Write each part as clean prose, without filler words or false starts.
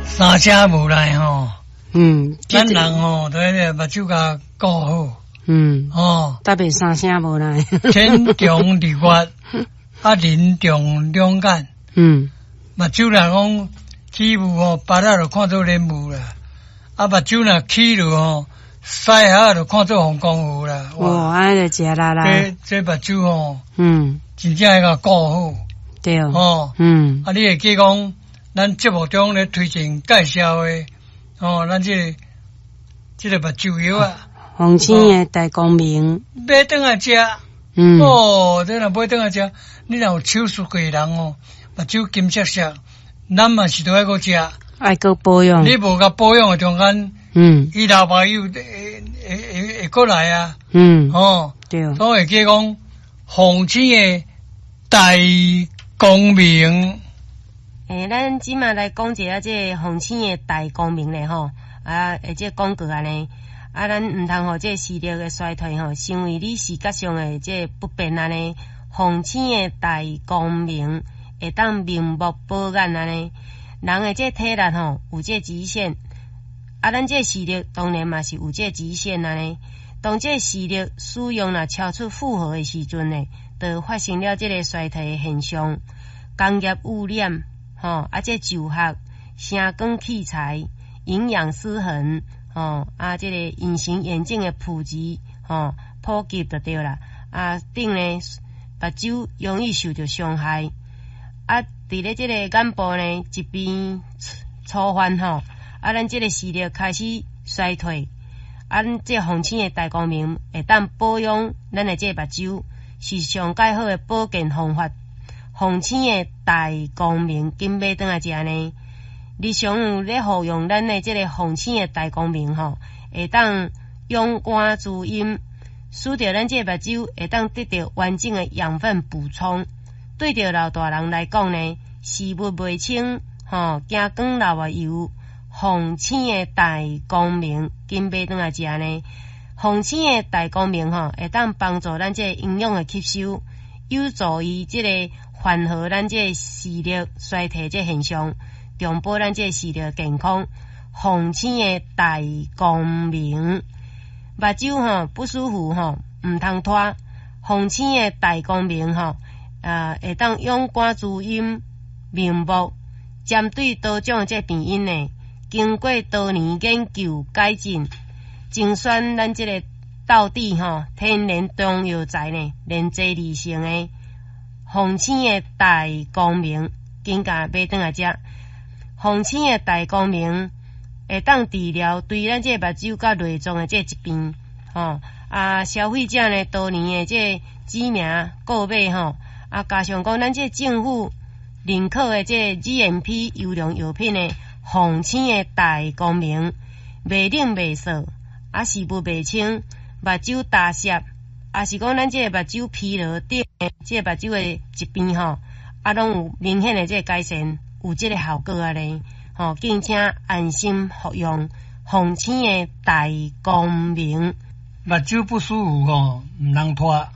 三聲無來吼。嗯。咱人吼，都彼个目睭共顧好。哦。特別三聲無來。天長日月，啊，人長兩眼。目睭若講起霧吼，芭樂就看做蓮霧啦。啊，目睭若起落吼，屎盒就看做黃光魚啦。哇，按呢就食力啦。這目睭吼，真正愛共顧好。哦。啊，你會記講，咱節目中咧推薦介紹的，哦，咱這個目睭藥啊。鳳青的大光明。買轉來食。哦，這若買轉來食，你若有手術過的人哦，目睭金閃閃，咱嘛是都愛閣食。愛閣保養。你無共保養的中間，伊流目油會閣來啊。哦。所以會記講，鳳青的大光明。欸，咱這馬來講一下這個鳳青的大光明咧吼，啊，會這廣告按呢，啊，咱毋通予這視力的衰退吼，成為你視覺上的這不便按呢。鳳青的大光明會當明目保眼按呢。人的這體力吼有這極限，啊，咱這視力當然嘛是有這極限按呢。當這視力使用若超出負荷的時陣呢，就發生了這个衰退的現象。工業污染，吼，啊，這就學、聲光器材、營養失衡，吼，啊，這个隱形眼鏡的普及，吼，普及就對啦。啊，等呢，目睭容易受著傷害。啊，佇咧這個眼部呢，疾病初發吼，啊，咱這個視力開始衰退。啊，咱這鳳青的大光明會當保養咱的這個目睭，是上蓋好的保健方法。鳳青的大光明，緊買轉來食呢。日常有咧服用咱的這個鳳青的大光明吼，會當養肝滋陰，使得咱這個目睭會當得著完整的養分補充。對著老大人來講呢，視物袂清，吼，驚光流目油，鳳青的大光明，緊買轉來食呢。鳳青的大光明吼，會當幫助咱這個營養的吸收，有助於這個緩和咱這個視力衰退這現象，長保咱這個視力健康。鳳青的大光明，目睭吼不舒服吼，毋通拖。鳳青的大光明吼，啊，會當養肝滋陰、明目。針對多種這病因呢，經過多年研究改進，精選咱這個道地吼天然中藥材呢，煉製而成的鳳青的大光明，緊共買轉來食。鳳青的大光明會當治療對咱這個目睭佮內臟的這個疾病，吼啊，消費者呢多年的這個指名購買吼，啊，加上講咱這政府認可的這個 GMP 優良藥品的鳳青的大光明，袂冷袂燥，啊，視物袂清，目睭乾澀，啊是講咱這個目睭疲勞等這個目睭的疾病吼，啊，攏有明顯的這個改善，有這個效果按呢，吼，敬請安心服用鳳青的大光明。目睭不舒服吼，毋通拖。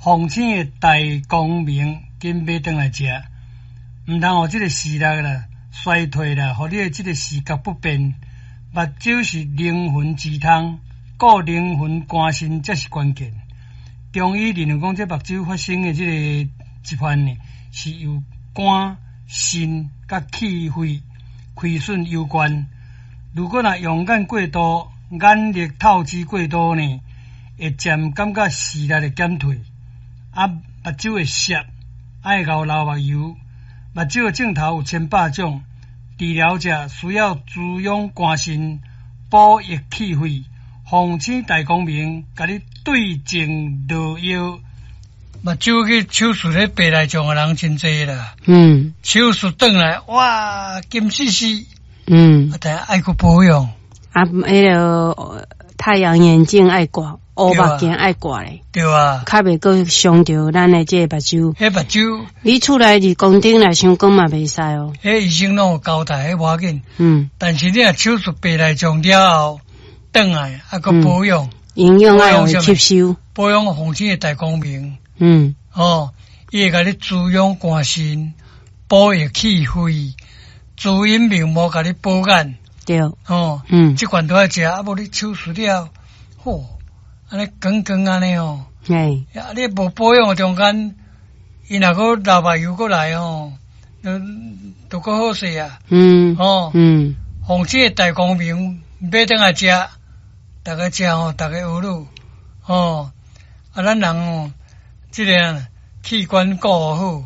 鳳青的大光明，緊買轉來食，毋通予這個視力啦衰退啦，予你的這個視覺不便。目睭是靈魂之窗，顧靈魂肝腎才是關鍵。中醫認為講，這目睭發生的這個疾患呢，是由肝、腎佮氣血虧損有關。如果若用眼過度，眼力透支過度呢，會漸感覺視力會減退。啊，目睭會澀，愛𠢕流目油。目睭的症頭有千百種，治療者需要滋養肝腎，補益氣血。鳳青大光明，共你對症落藥。目睭去手術彼白內障的人真濟啦。手術轉來，哇，金絲絲。啊，但愛閣保養。啊，彼个太陽眼鏡愛掛，烏目鏡愛掛咧。對啊。較袂閣傷著咱的這個目睭。彼目睭。你厝內日光燈來傷光嘛袂使哦。彼醫生攏有交代，彼無要緊。但是你若手術白內障了後，轉來啊，閣保養。營養愛有吸收。保養鳳青的大光明。哦，伊會共你滋養肝腎，補益氣血，滋陰明目，共你保眼。吼，這款都愛食，啊無你手術了，吼，按呢光光按呢吼，啊你無保養的中間，伊若閣流目油閣來吼，就閣好勢啊。吼，奉這个大光明買轉來食，逐家食吼，逐家學汝，吼，啊咱人吼，這个器官顧好，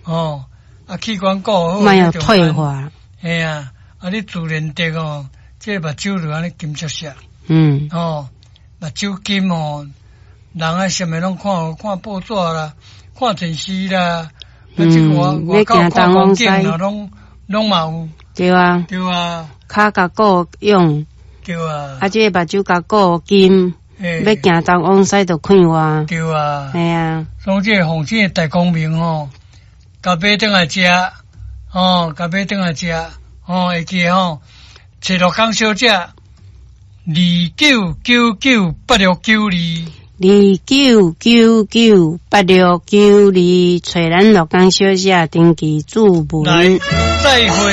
吼，啊器官顧好，莫予退化。嘿啊，啊你自然得吼，這个目睭就按呢金閃閃。吼，目睭金吼，人啊啥物攏看，看報紙啦，看電視啦，啊這個外口看風景啦，攏嘛有。對啊。對啊。跤共顧勇。對啊。啊，這个目睭共顧金，欲行東往西就快活。對啊。嘿啊。所以這个奉這个大光明吼，共買轉來食，吼，共買轉來食，吼，會記吼，揣樂康小姐，29998692。29998692，揣咱樂康小姐登記注文。來，再會。